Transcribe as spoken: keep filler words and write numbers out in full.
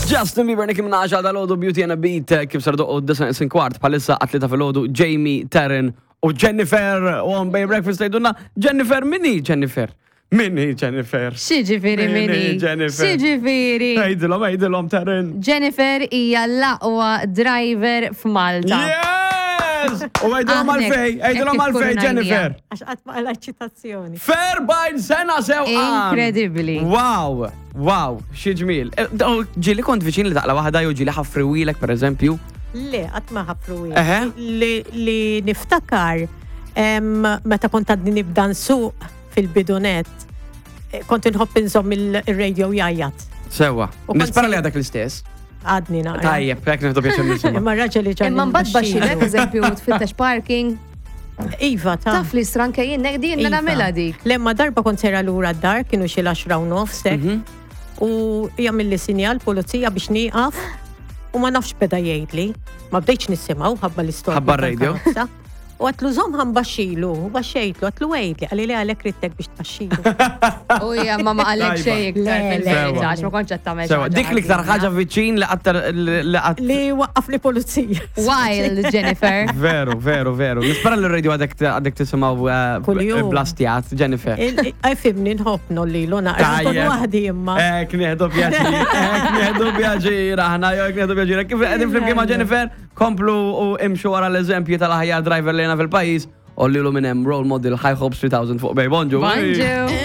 Justin Bieber, Nicki Minaj għal dalgħodu, Beauty and a Beat, eh, kif sar doqqu d-disgħa neqsin kwart bħalissa għat-tlieta filgħodu, Jamie, Taryn u Jennifer u on Bay Breakfast. Tgħidulna, Jennifer, min hi Jennifer? Min hi Jennifer? X'jiġifieri Min hi min hi? Jennifer? X'jiġifieri? Għidilhom, għidilhom, Taryn. Jennifer hija l-aqwa driver f'Malta. Yes! U għidilhom Aħnek, għalfejn, għidilhom hekk għalfejn, kif Jennifer. Għax qatt ma qala ċitazzjoni. F'erbgħin sena sewqan. Incredibly. Wow, wow, xi ġmiel. Eh, daw, Ġieli kont viċin li taqla waħda jew ġieli ħaffruhielek, per eżempju? Le, qatt ma ħaffru. Eħe. Li, li niftakar em, meta kont għadni nibda nsuq fil-bidu nett, eh, kont inħobb inżomm il-radio jgħajjat. Sewwa. U kont Nispera se- li għadak l-istess. Għadni naqra. Tajjeb, hekk nieħdu pjaċir nisimgħu. Imma raġel li ġan Imma mbagħad baxxilek, eżempju, tfittex parking. Iva, ta' Taf li stranke jien din Iva. nagħmilha dik. Le, ma darba kont sejra lura d-dar, kienu xi l-għaxra u nofs hekk, Mhm. u jagħmilli sinjal pulizija biex nieqaf u ma nafx beda jgħidli. Ma bdejtx nisimgħu ħabba l-istorja. Ħabba r-radio. U għedtlu żomm ħa nbaxxilu, u baxxejtlu, għedtlu għidli, qalli li għalek ridtek biex tbaxxilu. U hija ma ma qalek Tajba. xejn iktar Le, le. fil-verità, għax ma kontx qed tagħmel Sewwa, xi dik l-iktar ħaġa viċin li qatt li qatt. Li waqqaf li pulizija. Wild, Jennifer. Veru, veru, veru. Nispera li r-radio għadek għadek tisimgħu eh, Kuljum. blastjat, Jennifer. Ifhimni nħobb ngħollilu naqra. Nkun Tajjeb. waħdi imma. Hekk nieħdu pjaċir, hekk nieħdu pjaċir, aħna jew hekk nieħdu pjaċir. Kif qegħdin flimkien ma' Jennifer, komplu u imxu wara l-eżempji tal-aħjar driver li fil-pajjiż, u lilu minn hemm role model High Hopes tliet elef fuq Bay. Bonġu. Bonġu.